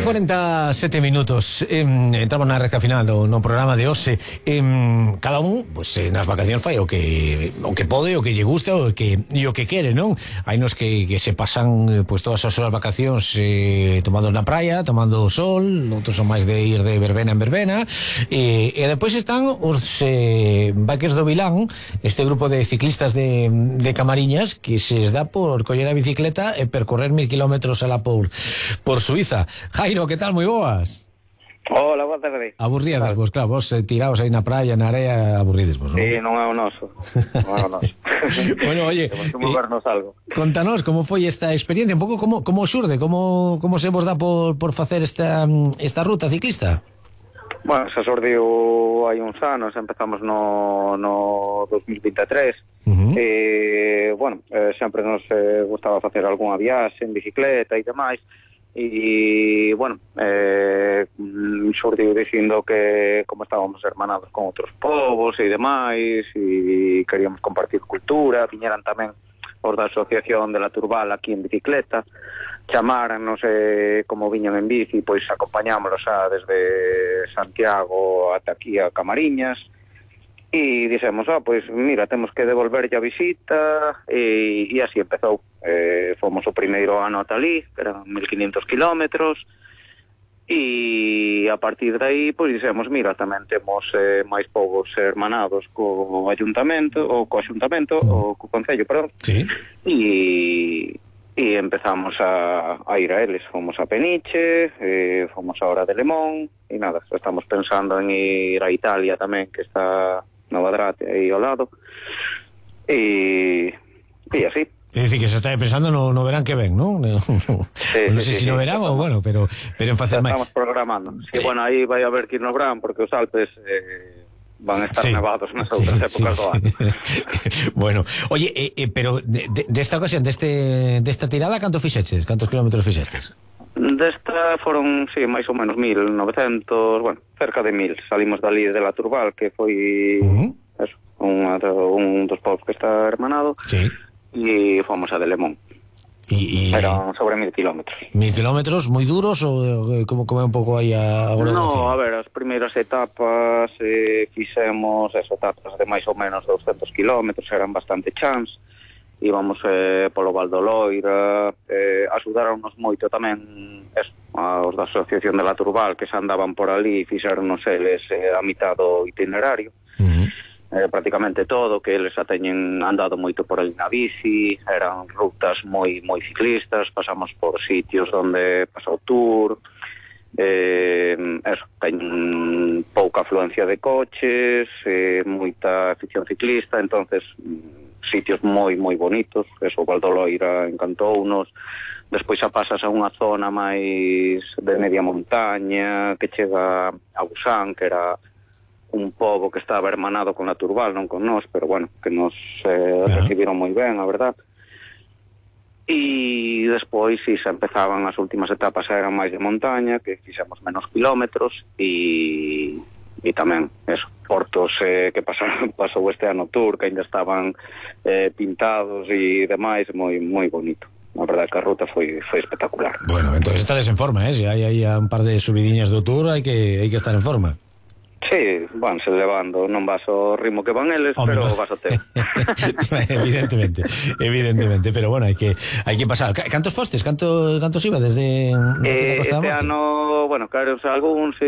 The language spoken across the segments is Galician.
47 minutos. Entramos na recta final no programa de hoxe. Cada un, pois, nas vacacións fai o que pode, o que lle gusta, o que quere, non? Hai nos que se pasan pois todas as súas vacacións tomando na praia, tomando o sol, outros son máis de ir de verbena en verbena, e depois están os Bikers do Vilán, este grupo de ciclistas de Camariñas que se dá por coller a bicicleta e percorrer 1000 kilómetros a la por Suiza. Jairo, que tal? Moi boas. Hola, boa tarde. Aburridas vos, claro, vos tiraos aí na praia, na area, aburrides vos, non? Sí, non é o noso. Bueno, oye, temos que movernos algo. Contanos como foi esta experiencia, un pouco como xurde, como se vos dá por facer esta ruta ciclista? Bueno, se xurdiu hai uns anos, empezamos no 2023. Bueno, sempre nos gustaba facer algunha viaxe en bicicleta e demais. E, bueno, xurdiu dicindo que como estábamos hermanados con outros povos e demais e queríamos compartir cultura, viñeran tamén os da Asociación de la Turbal aquí en bicicleta, chamarannos como viñan en bici, pois acompañámoslos desde Santiago ata aquí a Camariñas. E dixemos, pois mira, temos que devolver a visita, e así empezou. Fomos o primeiro ano ata ali, que eran 1500 kilómetros, e a partir de aí, pois dixemos, mira, tamén temos máis povos hermanados co Ayuntamento, ou co Concello, perdón. Sí. E empezamos a ir a eles. Fomos a Peniche, fomos ahora de Lemón, e nada, estamos pensando en ir a Italia tamén, que está Nova Drate aí ao lado, e así. É dicir, que se está pensando no verán que ven, non? Sí, non sei se no verán ou, bueno, pero en facer máis. Estamos programando. Sí, bueno, aí vai a haber que ir no verán, porque os Alpes van a estar nevados nas outras épocas do ano. Bueno, oye, pero desta ocasión, desta tirada, canto fixeches? Cantos kilómetros fixestes? Desta foron, sí, máis ou menos 1900, bueno, cerca de 1000. Salimos dali de la Turbal, que foi eso, un dos povos que está hermanado, sí. E fomos a de Lemón. Eran sobre 1000 kilómetros. 1000 kilómetros, moi duros, ou como é un pouco aí a orografía? No, a ver, as primeiras etapas fixemos etapas de máis ou menos 200 kilómetros, eran bastante chans. Íbamos polo Val do Loira, axudaronnos moito tamén os da Asociación de la Turbal, que se andaban por ali e fixeronnos eles a mitad do itinerario, prácticamente todo, que eles xa teñen andado moito por ali na bici, eran rutas moi ciclistas, pasamos por sitios onde pasa o Tour, teñen pouca afluencia de coches, moita afición ciclista, entonces sitios moi bonitos. Eso, o Val do Loira encantounos. Despois xa pasas a unha zona máis de media montaña que chega a Busán, que era un pobo que estaba hermanado con a Turbal, non con nós, pero bueno, que nos recibiron moi ben, a verdad. E despois xa empezaban as últimas etapas, eran máis de montaña, que fixemos menos kilómetros, e tamén, eso, portos que pasou este ano Tour, que ainda estaban pintados e demais, moi bonito. A verdade que a ruta foi espectacular. Bueno, entonces estades en forma, se hai aí un par de subidiñas do Tour, hai que estar en forma. Sí, vanse levando, non vas ao ritmo que van eles, pero vas ao teu. evidentemente, pero bueno, hai que pasar. Cantos fostes? Cantos iba desde este ano, bueno, claro, algúns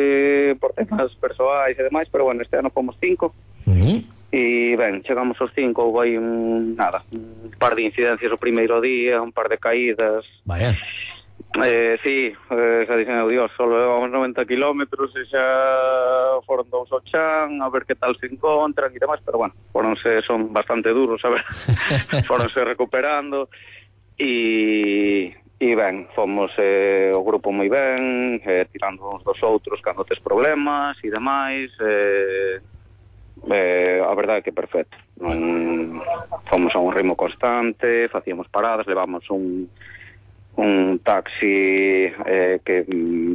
por temas persoais e demais, pero bueno, este ano fomos 5. E ben, chegamos aos 5, houve aí un par de incidencias o primeiro día, un par de caídas. Vaya. Sí, xa dixen, Dios, solo levamos 90 kilómetros e xa foron 2 ao chan, a ver que tal se encontran e demais, pero bueno, son bastante duros, a ver, foronse recuperando e ben, fomos o grupo moi ben, tirando uns dos outros cando tes problemas e demais, a verdade é que perfecto. Fomos a un ritmo constante, facíamos paradas, levamos un taxi que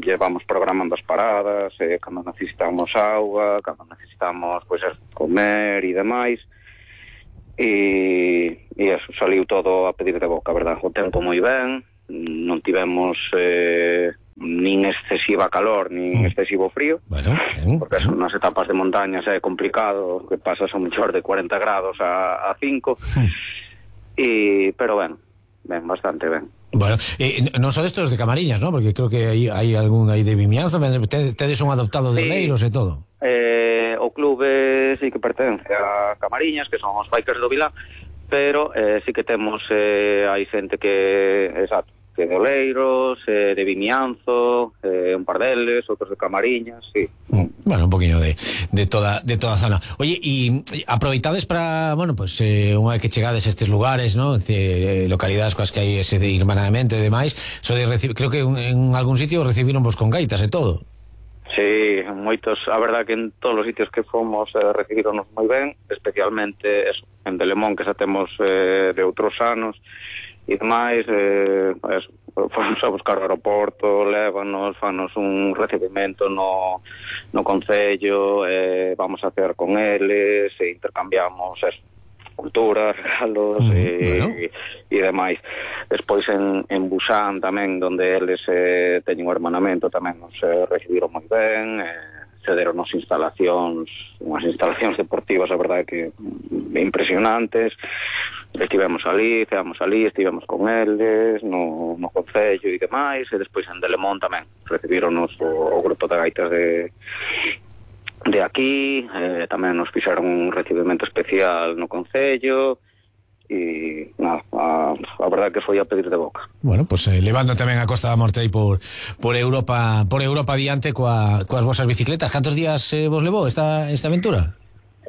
llevamos programando as paradas, cando necesitamos auga, cando necesitamos comer e demais, e eso, saliu todo a pedir de boca, verdad? O tempo moi ben, non tivemos nin excesiva calor nin excesivo frío, porque son unas etapas de montañas é complicado, que pasas a mellor de 40 grados a 5, pero ben, bastante ben. Bueno, non son destos de Camariñas, ¿no? Porque creo que hai algún aí de Vimianzo, tedes un adoptado de Oleiros e todo. O clube sí que pertence a Camariñas, que son os bikers do Vilán, pero sí que temos hai xente que, exacto, que de Oleiros, de Vimianzo, un par deles, outros de Camariñas, sí. Bueno, un poquinho de toda a zona. Oye, e aproveitades para, bueno, pues unha vez que chegades a estes lugares, ¿no? Localidades coas que hai ese de irmanamento e demais, creo que en algún sitio recibiron vos con gaitas e todo. Sí, moitos, a verdad que en todos os sitios que fomos recibironos moi ben, especialmente eso, en Delemón, que xa temos de outros anos e demais, fomos a buscar o aeroporto, lévanos, fanos un recibimento no concello, vamos a hacer con eles, e intercambiamos eso, cultura, regalos e demais. Despois en Busan tamén, donde eles teñen un hermanamento, tamén nos recibiron moi ben, cederon unhas instalacións deportivas, a verdade que impresionantes. Estivemos ali, estivemos con eles no concello e demais, e despois en Delemón tamén recibironos o grupo de gaitas de aquí, tamén nos fixeron un recibimento especial no concello, e nada, a verdade que foi a pedir de boca. Bueno, pues levando tamén a Costa da Morte aí por Europa adiante coas vosas bicicletas. Cantos días vos levou esta aventura?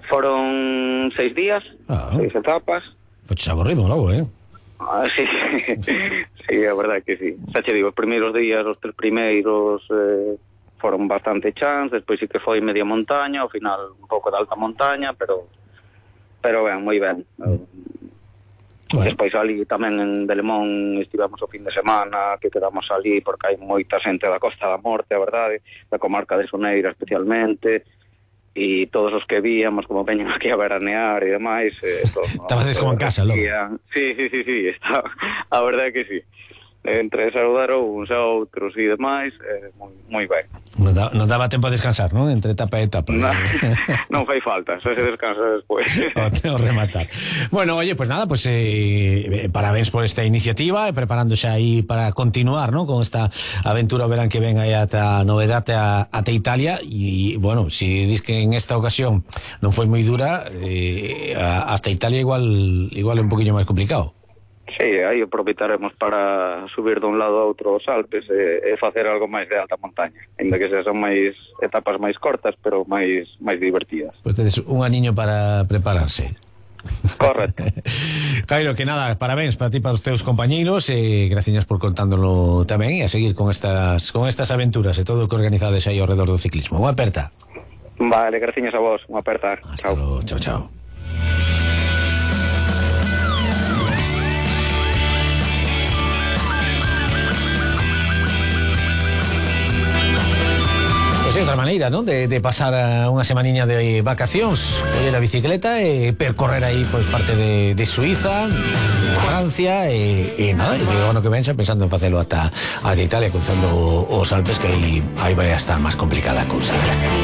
Foron 6 días, 6 etapas. Pues aborrimos logo, Sí, sí, a verdade que sí. Xa che digo, os primeiros días, os 3 primeiros foron bastante chans, despois sí que foi media montaña, ao final un pouco de alta montaña, pero ben, moi ben. Bueno. Despois ali tamén en Delemón estivemos o fin de semana, que quedamos ali porque hai moita xente da Costa da Morte, a verdade, da comarca de Soneira especialmente, e todos os que víamos como veñen aquí a veranear e demais, estabades como en casa, logo. Sí, estaba, a verdade que sí. Entre saludar uns a outros e demais, moi ben. Non daba tempo a descansar, non? Entre etapa e etapa. Non fai falta, só se descansa despois. O rematar. Bueno, oye, pues nada, pues parabéns por esta iniciativa, preparándose aí para continuar, ¿no? Con esta aventura, verán que ven aí ata novedade ata Italia, e bueno, si dis que en esta ocasión non foi moi dura, hasta Italia igual é un poquinho máis complicado. Sí, aí aproveitaremos para subir dun lado a outro os Alpes e facer algo máis de alta montaña, ainda que son máis etapas máis cortas, pero máis divertidas. Pois tedes un aniño para prepararse. Correcto. Jairo, que nada, parabéns para ti, para os teus compañeiros, e gracias por contándolo tamén, e a seguir con estas aventuras e todo o que organizades aí ao redor do ciclismo. Unha aperta. Vale, gracias a vos, unha aperta. Hasta luego, chao. É outra maneira, non? De pasar unha semaniña de vacacións, coller a bicicleta e percorrer aí pois parte de Suiza, Francia e nada, e o ano que ven xa pensando en facelo ata Italia, cruzando os Alpes, que aí vai a estar máis complicada a cousa.